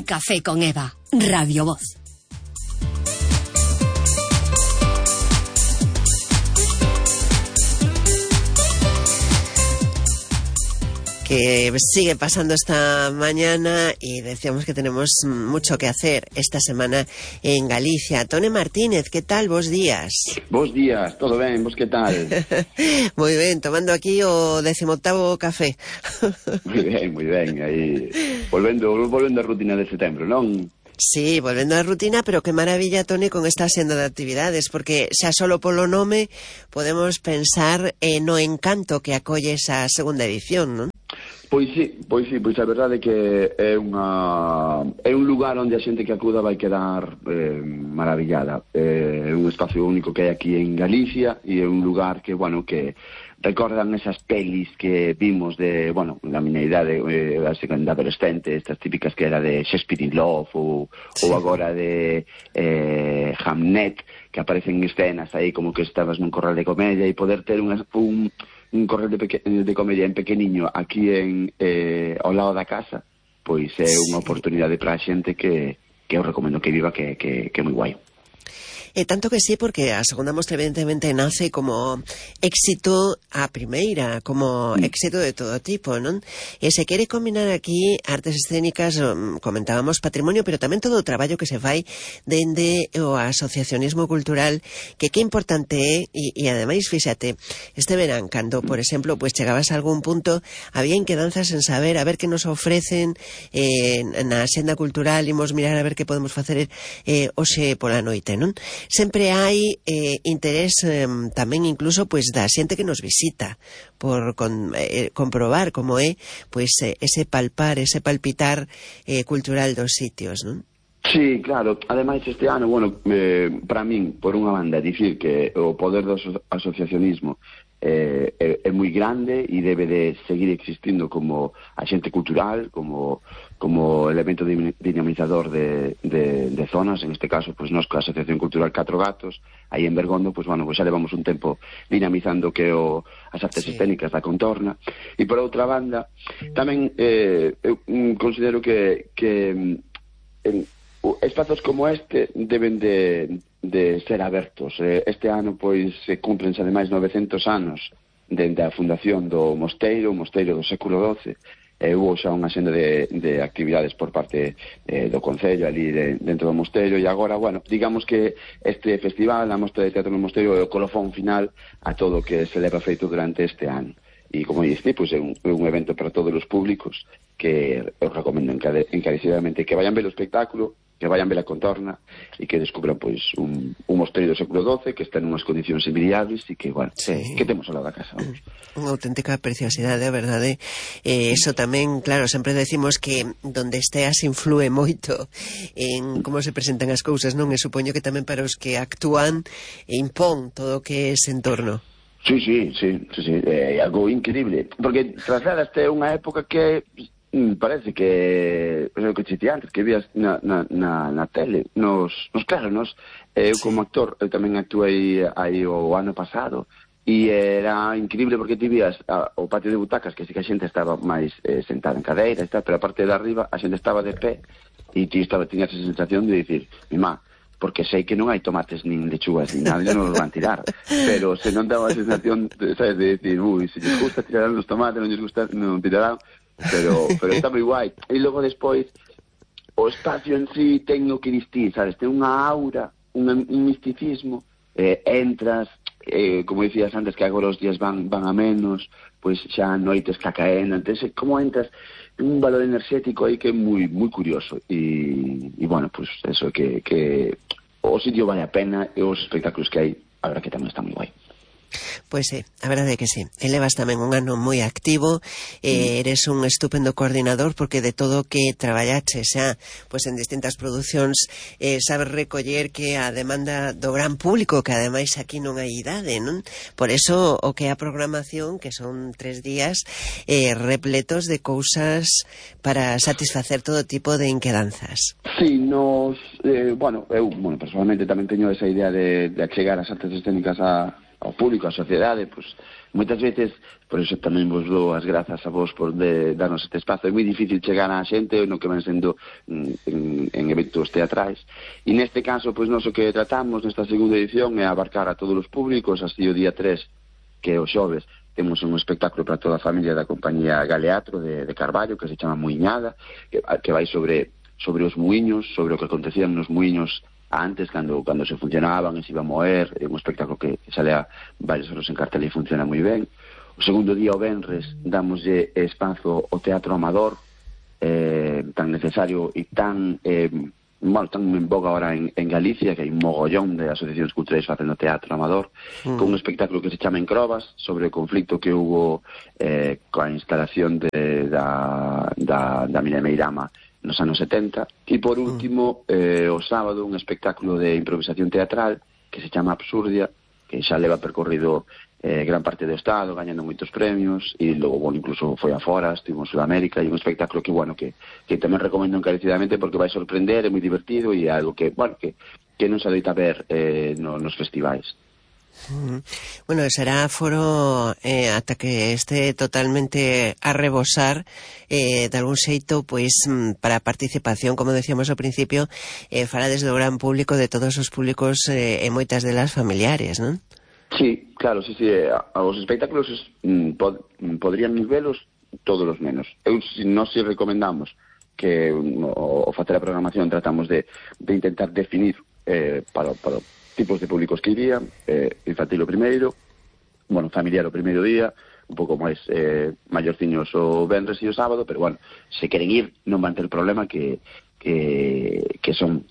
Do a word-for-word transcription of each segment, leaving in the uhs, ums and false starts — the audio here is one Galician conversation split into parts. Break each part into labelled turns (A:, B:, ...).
A: Un café con Eva, Radio Voz.
B: Que sigue pasando esta mañana y decíamos que tenemos mucho que hacer esta semana en Galicia. Tone Martínez, ¿qué tal? Bos días.
C: Bos días, todo ben, vos que tal?
B: Moi ben, tomando aquí o decimoctavo café.
C: Moi ben, moi ben, aí volvendo, volvendo a rutina de setembro, non?
B: Sí, volvendo á rutina, pero que maravilla, Tone, con esta senda de actividades, porque xa solo polo nome podemos pensar eh, no encanto que acolle esa segunda edición, non?
C: Pois sí, pois sí, pois a verdade é que é unha é un lugar onde a xente que acuda vai quedar eh, maravillada. É un espacio único que hai aquí en Galicia e é un lugar que, bueno, que recordan esas pelis que vimos de, bueno, na miña idade, eh, a segunda adolescente, estas típicas que era de Shakespeare in Love ou, sí. ou agora de eh, Hamnet, que aparecen escenas aí como que estabas nun corral de comedia e poder ter un, un un correo de, peque, de comedia en pequeniño aquí en eh, ao lado da casa, pois é unha oportunidade para a xente que, que eu recomendo que viva, que, que, que é moi guai.
B: E tanto que sí, porque a segunda mostra evidentemente nace como éxito a primeira, como mm. éxito de todo tipo, non? E se quere combinar aquí artes escénicas, comentábamos patrimonio, pero tamén todo o traballo que se fai dende o asociacionismo cultural, que que importante é, e, e ademais, fíxate, este verán, cando, por exemplo, pues chegabas a algún punto, había inquedanzas en saber, a ver que nos ofrecen eh, na senda cultural, imos mirar a ver que podemos facer eh, hoxe pola noite, non? Sempre hai eh, interés eh, tamén incluso pois da xente que nos visita por con, eh, comprobar como é pois eh, ese palpar, ese palpitar eh, cultural dos sitios, non?
C: Sí, claro, ademais este ano, bueno, eh, para min, por unha banda, dicir que o poder do aso asociacionismo eh, é, é moi grande e debe de seguir existindo como axente cultural, como, como elemento dinamizador de, de, de zonas, en este caso, pues, nos coa Asociación Cultural Catro Gatos, aí en Bergondo, pues, bueno, pues, xa levamos un tempo dinamizando que o, as artes sí. escénicas da contorna, e por outra banda, tamén eh, eu considero que, que en, espazos como este deben de, de ser abertos. Este ano, pois, se cumprense ademais novecentos anos dende a fundación do mosteiro, o mosteiro do século doce, e hubo xa unha senda de, de actividades por parte eh, do Concello ali de, dentro do mosteiro, e agora, bueno, digamos que este festival, a Mostra de Teatro no Mosteiro, é o colofón final a todo o que se leva feito durante este ano. E, como dixi, pois, é un, é un evento para todos os públicos que eu recomendo encarecidamente que vayan ver o espectáculo, que vayan ver a contorna e que descubran, pois, un, un mosteiro do século doce que está en unhas condicións envidiables e que, bueno, sí. que temos ao lado da casa, vamos.
B: Unha auténtica preciosidade, a verdade. Eh, eso tamén, claro, sempre decimos que donde esteas influe moito en como se presentan as cousas, non? E supoño que tamén para os que actúan impón todo o que é ese entorno.
C: Sí, sí, sí, sí, sí, é algo increíble, porque trasladaste unha época que mm, parece que é o que chiste antes, que vías na, na, na, na tele, nos, nos claro, nos, eu sí. como actor, eu tamén actuei aí o ano pasado, e era increíble porque ti vías a, o patio de butacas, que si que a xente estaba máis eh, sentada en cadeira, está, pero a parte de arriba a xente estaba de pé, e ti estaba, tiñas esa sensación de dicir, mi má, porque sei que non hai tomates nin lechugas nin nada, non os van tirar, pero se non daba a sensación de, sabes, de decir, ui, se lles gusta tirarán os tomates, non lles gusta, non tirarán, pero, pero está moi guai. E logo despois o espacio en sí ten o que distir, sabes, ten unha aura, un, un misticismo, eh, entras, eh, como dicías antes, que agora os días van, van a menos, pois xa noites que caen, entonces, como entras un valor enerxético aí que é moi moi curioso e, e bueno, pois pues eso, que, que o sitio vale a pena e os espectáculos que hai, a verdad que tamén está moi guai.
B: Pois sí, a verdade é que sí. Elevas tamén un ano moi activo, eh, eres un estupendo coordinador porque de todo o que traballaches xa pois en distintas producións eh, sabes recoller que a demanda do gran público, que ademais aquí non hai idade, non? Por eso o que é a programación, que son tres días eh, repletos de cousas para satisfacer todo tipo de inquedanzas.
C: Sí, nos, eh, bueno, eu, bueno, personalmente tamén teño esa idea de, de achegar as artes escénicas a ao público, á sociedade, pois moitas veces, por iso tamén vos dou as grazas a vos por de, darnos este espazo. É moi difícil chegar á xente no que van sendo en, en eventos teatrais, e neste caso, pois nós o que tratamos nesta segunda edición é abarcar a todos os públicos. Así o día tres, que é o xoves, temos un espectáculo para toda a familia da compañía Galeatro de, de Carballo, que se chama Muiñada, que, que vai sobre sobre os muiños, sobre o que acontecían nos muiños antes, cando cando se funcionaban e se iba a moer. É un espectáculo que sale a varios horas en cartel e funciona moi ben. O segundo día, o venres, damoslle espazo ao teatro amador, eh, tan necesario e tan eh, bueno, tan en boga ahora en, en Galicia, que hai un mogollón de asociacións culturais facendo teatro amador, mm. con un espectáculo que se chama Encrobas, sobre o conflicto que hubo eh, coa instalación de, da, da, da mina de Meirama nos anos setenta. E por último, eh, o sábado, un espectáculo de improvisación teatral que se chama Absurdia, que xa leva percorrido eh, gran parte do Estado, gañando moitos premios, e logo, bueno, incluso foi afora, estivo en Sudamérica, e un espectáculo que, bueno, que, que tamén recomendo encarecidamente porque vai sorprender, é moi divertido, e é algo que, bueno, que, que non se adoita ver eh, no, nos festivais.
B: Mm. Bueno, será foro eh, ata que este totalmente a rebosar eh, de algún xeito, pois para a participación, como decíamos ao principio, eh, fala desde o gran público, de todos os públicos eh, e moitas delas familiares, non?
C: Sí, claro, sí, sí, os espectáculos mm, pod, podrían velos todos os menos. Eu, si, nós si recomendamos que o, o facer a programación tratamos de, de intentar definir eh, para, para tipos de públicos que iría, eh, infantil o primeiro, bueno, familiar o primeiro día, un pouco máis eh, maiorciños o venres e o sábado, pero bueno, se queren ir non van ter problema, que, que, que son,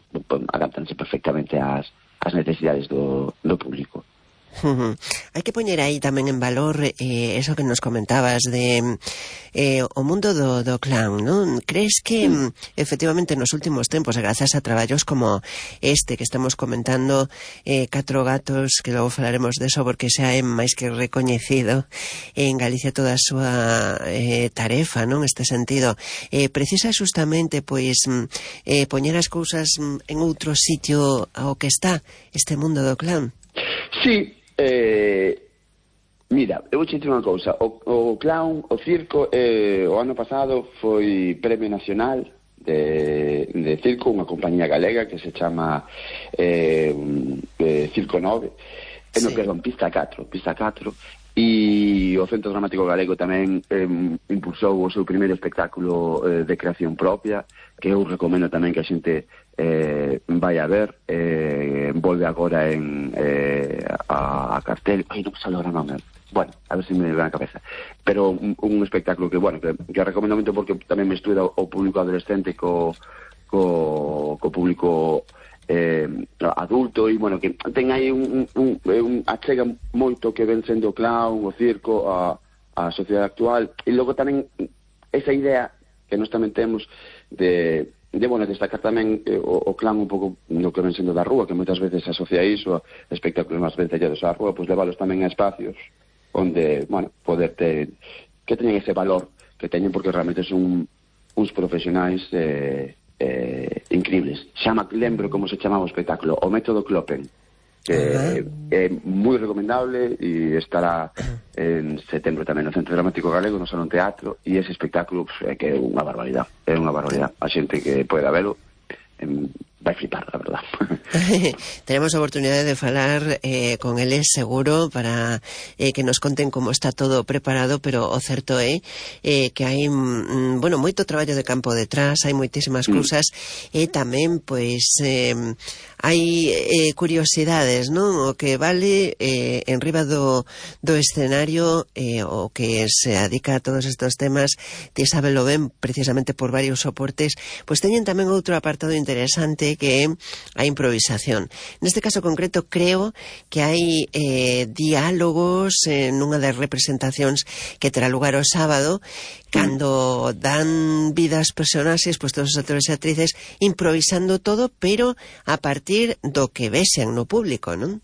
C: adaptanse perfectamente ás, ás necesidades do, do público.
B: Uh-huh. Hai que poñer aí tamén en valor eh, eso que nos comentabas de eh, o mundo do, do clown, non? Crees que mm. efectivamente nos últimos tempos, grazas a traballos como este que estamos comentando, eh, Catro Gatos, que logo falaremos deso porque xa é máis que recoñecido en Galicia toda a súa eh, tarefa, non? Este sentido, eh, precisa justamente pois eh, poñer as cousas en outro sitio ao que está este mundo do clown.
C: Sí. Eh, mira, eu vou te dicir unha cousa. O, o clown, o circo, eh, o ano pasado foi Premio Nacional de, de Circo, unha compañía galega que se chama eh, eh, Circo nove, sí. No, perdón, Pista catro, Pista catro, e o Centro Dramático Galego tamén eh, impulsou o seu primeiro espectáculo eh, de creación propia, que eu recomendo tamén que a xente eh, vai a ver. Eh, volve agora en eh, a, a cartel, ai, non me sale agora o nome, bueno, a ver se me ve na cabeza, pero un, un espectáculo que, bueno, que, que recomendo moito porque tamén me estuda o público adolescente co, co, co público eh, adulto, e, bueno, que ten aí un, un, un achega moito que ven sendo o clown, o circo, a, a sociedade actual, e logo tamén esa idea que nós tamén temos de de, bueno, destacar tamén eh, o, o clan un pouco no que ven sendo da rúa, que moitas veces asocia iso a espectáculos máis vencellados á rúa, pois leválos tamén a espacios onde, bueno, poder ter, que teñen ese valor que teñen, porque realmente son uns profesionais eh, eh, increíbles. Xama, lembro como se chamaba o espectáculo, o método Kloppen, que uh-huh. é moi recomendable, e estará en setembro tamén no Centro Dramático Galego, no Salón Teatro, e ese espectáculo é que é unha barbaridade, é unha barbaridade. A xente que poida velo em, vai flipar, a verdad.
B: Tenemos a oportunidade de falar eh, con eles seguro para eh, que nos conten como está todo preparado, pero o certo é eh, que hai mm, bueno, moito traballo de campo detrás, hai moitísimas mm. cousas, e tamén pois eh, hai eh, curiosidades, non? O que vale eh, en riba do, do escenario, eh, o que se dedica a todos estes temas, ti sábelo ben precisamente por varios soportes, pois teñen tamén outro apartado interesante, que é a improvisación. Neste caso concreto creo que hai eh, diálogos en unha das representacións que terá lugar o sábado, cando dan vida ás personaxes, pois todos os actores e actrices improvisando todo, pero a partir do que vexen no público, non?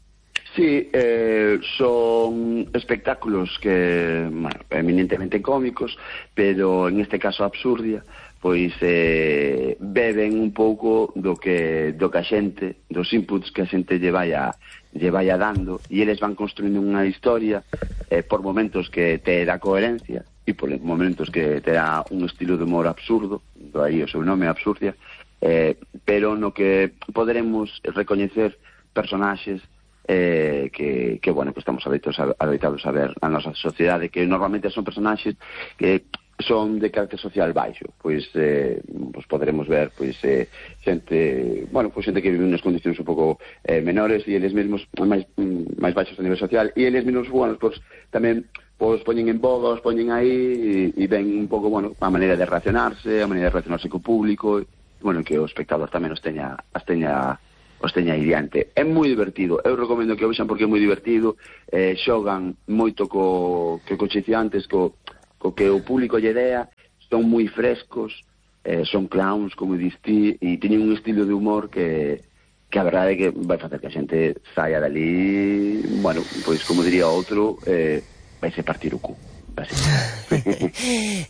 C: Sí, eh, son espectáculos que, bueno, eminentemente cómicos, pero en este caso Absurdia, pois eh, beben un pouco do que do que a xente, dos inputs que a xente lle vai a lle vai a dando, e eles van construindo unha historia eh, por momentos que te dá coherencia e por momentos que te dá un estilo de humor absurdo, do aí o seu nome, Absurdia, eh, pero no que poderemos recoñecer personaxes eh, que, que, bueno, que estamos adoitados a, adoitados a ver na nosa sociedade, que normalmente son personaxes que son de carácter social baixo, pois eh, pues poderemos ver pois eh, xente, bueno, pois xente que vive unas condicións un pouco eh, menores e eles mesmos máis máis baixos a nivel social, e eles mesmos, bueno, pois tamén pois poñen en boga, os poñen aí e, e ven un pouco, bueno, a maneira de relacionarse, a maneira de relacionarse co público, e, bueno, que o espectador tamén os teña as teña os teña aí diante. É moi divertido, eu recomendo que o vexan porque é moi divertido, eh, xogan moito co que coche antes, co co que o público lle dea, son moi frescos, eh, son clowns, como diste, e teñen un estilo de humor que, que a verdade é que vai facer que a xente saia dali, bueno, pois como diría outro, eh, vai se partir o cu.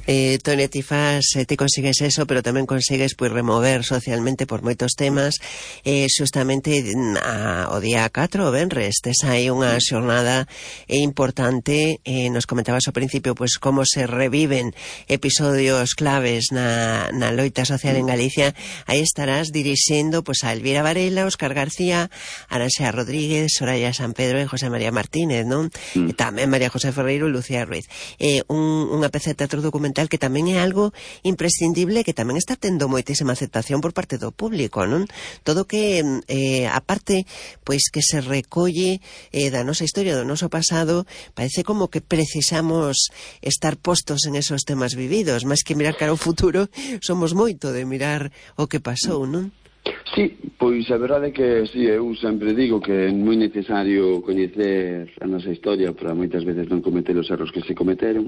B: eh, Tone, ti fas, eh, ti consigues eso, pero tamén consigues pois remover socialmente por moitos temas. eh, Xustamente a, o día catro o venres tes aí unha xornada eh, importante. eh, Nos comentabas ao principio pois como se reviven episodios claves na, na loita social en Galicia. Aí estarás dirixindo pois a Elvira Varela, Óscar García, Aranxea Rodríguez, Soraya San Pedro e José María Martínez, non? Mm. E tamén María José Ferreiro e Lucía Ruiz. Eh, un, unha peza de teatro documental que tamén é algo imprescindible, que tamén está tendo moitísima aceptación por parte do público, non? Todo que, eh, aparte, pois que se recolle eh, da nosa historia, do noso pasado, parece como que precisamos estar postos en esos temas vividos, máis que mirar cara ao futuro, somos moito de mirar o que pasou, non?
C: Sí, pois a verdade é que sí, eu sempre digo que é moi necesario coñecer a nosa historia para moitas veces non cometer os erros que se cometeron,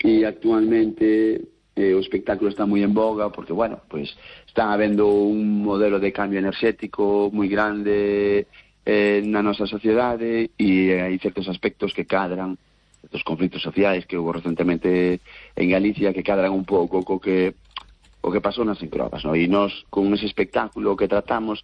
C: e actualmente eh, o espectáculo está moi en boga porque, bueno, pois está habendo un modelo de cambio enerxético moi grande eh, na nosa sociedade, e hai certos aspectos que cadran, certos conflitos sociais que houve recentemente en Galicia que cadran un pouco co que o que pasou nas encrobas, no? E nós, con ese espectáculo, o que tratamos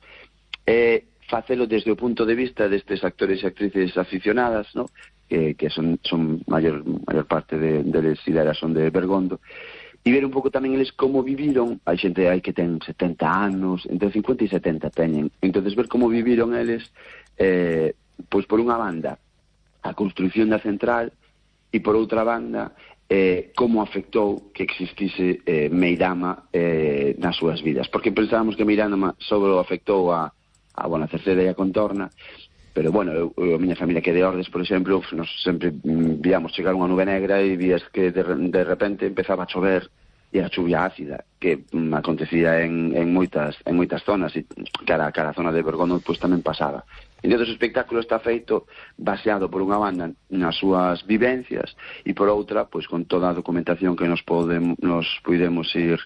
C: é eh, facelo desde o punto de vista destes actores e actrices aficionadas, no? que, que son, son maior, maior parte de, deles ideas son de Bergondo, e ver un pouco tamén eles como viviron. Hai xente aí que ten setenta anos, entre cincuenta e setenta teñen, entonces ver como viviron eles, eh, pois por unha banda a construción da central, e por outra banda Eh, como afectou que existise eh, Meirama eh, nas súas vidas, porque pensábamos que Meirama só afectou a, a, bueno, a Cerceda e a Contorna, pero, bueno, eu, eu, a miña familia que é de Ordes, por exemplo, nos sempre mm, víamos chegar unha nube negra e vías que de, de repente empezaba a chover, e a chuvia ácida, que mm, acontecía en, en moitas en moitas zonas, e cara, cara a zona de Bergondo pois tamén pasaba. Entón, o espectáculo está feito baseado por unha banda nas súas vivencias e por outra, pois con toda a documentación que nos podemos, nos podemos ir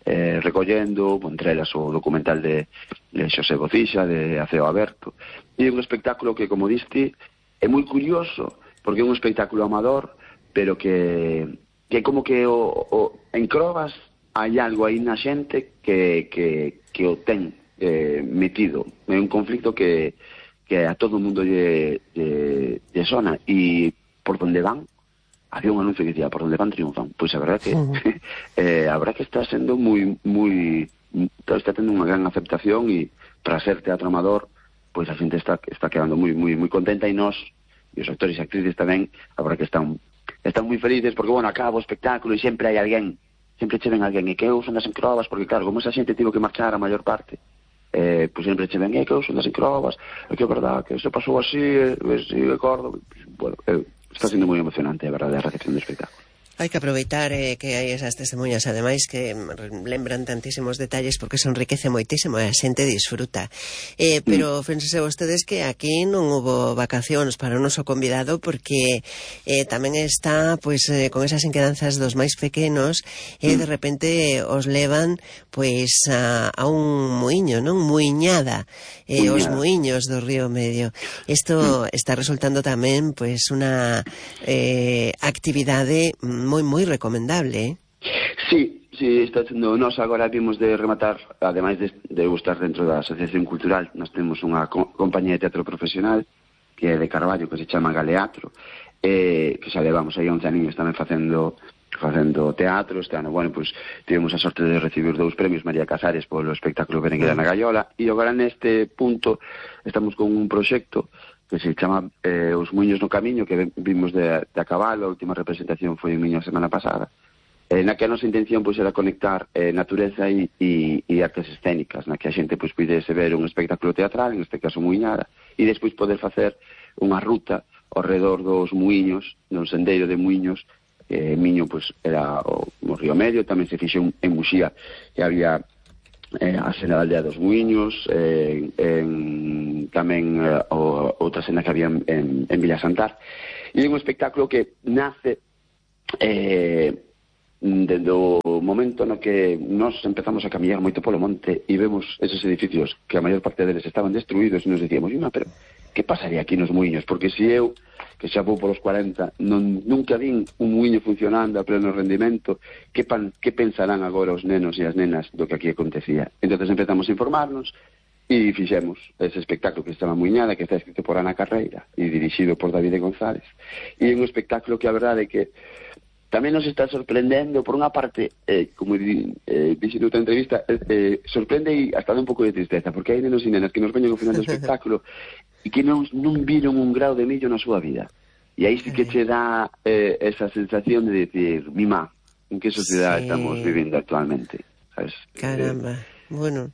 C: eh, recollendo, entre elas o documental de, de Xosé Bocixa, de Aceo Aberto. E é un espectáculo que, como diste, é moi curioso, porque é un espectáculo amador, pero que, que como que o, o, en Crobas hai algo aí na xente que, que, que o ten eh, metido. É un conflicto que que a todo o mundo lle, lle, lle sona, e por donde van había un anuncio que dicía por donde van triunfan. Pois a verdad que uh -huh. eh, a verdad que está sendo moi moi está tendo unha gran aceptación, e para ser teatro amador pois a xente está está quedando moi moi moi contenta, e nós e os actores e actrices tamén a verdad que están están moi felices, porque, bueno, acaba o espectáculo e sempre hai alguén, sempre che ven alguén, e que eu son das encrobas, porque claro, como esa xente tivo que marchar a maior parte, Eh, pois sempre che ven, é que eu son das encrobas, é que é verdad que se pasou así, eh, si acordo, bueno, eh, está sendo moi emocionante, a verdade, a recepción do espectáculo.
B: Hai que aproveitar eh, que hai esas testemunhas, ademais, que lembran tantísimos detalles, porque se enriquece moitísimo e a xente disfruta. Eh, pero mm. fíjense vostedes que aquí non hubo vacacións para o noso convidado, porque eh, tamén está pois eh, con esas inquedanzas dos máis pequenos, e eh, de repente os levan pois a, a un muiño, non? Muiñada, eh, os muiños do Río Medio. Isto mm. está resultando tamén pois unha eh, actividade moi moi recomendable, eh?
C: Sí, si está sendo, nós agora vimos de rematar, ademais de, de estar dentro da Asociación Cultural, nós temos unha co compañía de teatro profesional que é de Carballo, que se chama Galeatro, eh, que xa levamos aí once aninhos tamén facendo facendo teatro. Este ano, bueno, pues tivemos a sorte de recibir dous premios María Casares polo espectáculo Berenguera na Gaiola, e agora neste punto estamos con un proxecto que se chama eh, Os Muiños no Camiño, que vimos de, de a cabalo. A última representación foi en Miño a semana pasada, eh, na que a nosa intención pois, era conectar eh, natureza e, e, e artes escénicas, na que a xente pois, pudese ver un espectáculo teatral, en este caso muiñada, e despois poder facer unha ruta ao redor dos muiños, nun sendeiro de muiños. eh, Miño pois, era o, o Río Medio, tamén se fixe un, en Muxía, que había eh, a cena da aldea dos muiños, eh, en, tamén eh, o, outra cena que había en, en, en Villa Santar, e é un espectáculo que nace eh, desde o momento no que nós empezamos a camiñar moito polo monte e vemos esos edificios que a maior parte deles estaban destruídos, e nos decíamos, pero que pasaría aquí nos muiños? Porque se eu, que xa vou polos cuarenta, non, nunca vin un muiño funcionando a pleno rendimento, que, pan, que pensarán agora os nenos e as nenas do que aquí acontecía? Entón empezamos a informarnos e fixemos ese espectáculo que se chama Muiñada, que está escrito por Ana Carreira e dirixido por David González, e é un espectáculo que a verdade é que tamén nos está sorprendendo, por unha parte, eh, como eh, dixi noutra entrevista, eh, eh, sorprende e hasta dá un pouco de tristeza, porque hai nenos e nenas que nos veñen ao final do espectáculo e que non, non viron un grau de millo na súa vida. E aí sí que che dá eh, esa sensación de decir, mima, en que sociedade sí. estamos vivindo actualmente, sabes?
B: Caramba. Eh, Bueno,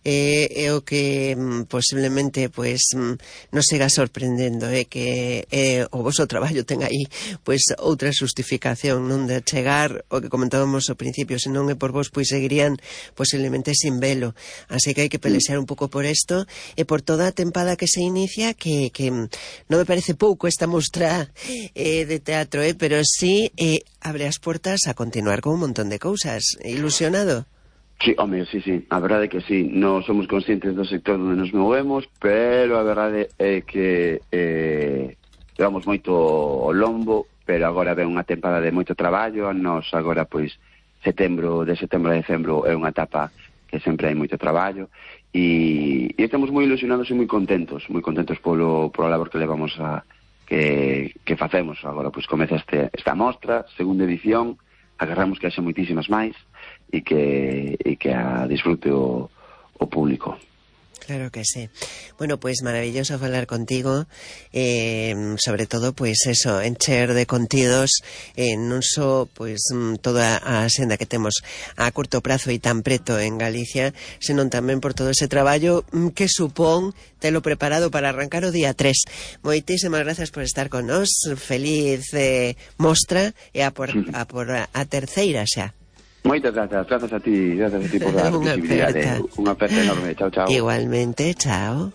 B: eh, é o que mm, posiblemente pois mm, nos siga sorprendendo, é eh, que eh, o voso traballo ten aí pois outra justificación, non de chegar o que comentábamos ao principio, se non é por vos pois seguirían posiblemente sin velo, así que hai que pelexar un pouco por isto e por toda a tempada que se inicia, que, que non me parece pouco esta mostra eh, de teatro, eh, pero sí eh, abre as portas a continuar con un montón de cousas. Ilusionado?
C: Sí, home, sí, sí, a verdade é que sí, non somos conscientes do sector onde nos movemos, pero a verdade é que eh, levamos moito o lombo, pero agora ven unha tempada de moito traballo. Nos agora, pois, setembro, de setembro a decembro é unha etapa que sempre hai moito traballo, e, e estamos moi ilusionados e moi contentos, moi contentos polo, polo labor que levamos a, que, que facemos. Agora, pois, comeza este, esta mostra, segunda edición, agarramos que haxa moitísimas máis, e que, e que a disfrute o, o público.
B: Claro que sí. Bueno, pues maravilloso falar contigo, eh, sobre todo, pues eso, encher de contidos, eh, non só, pues, toda a senda que temos a curto prazo e tan preto en Galicia, senón tamén por todo ese traballo que supón telo preparado para arrancar o día tres. Moitísimas gracias por estar con nós, feliz eh, mostra, e a por, a, por a, a terceira xa.
C: Moitas grazas, grazas a ti, grazas a ti por dar visibilidade. Unha aperta enorme, chao, chao.
B: Igualmente, chao.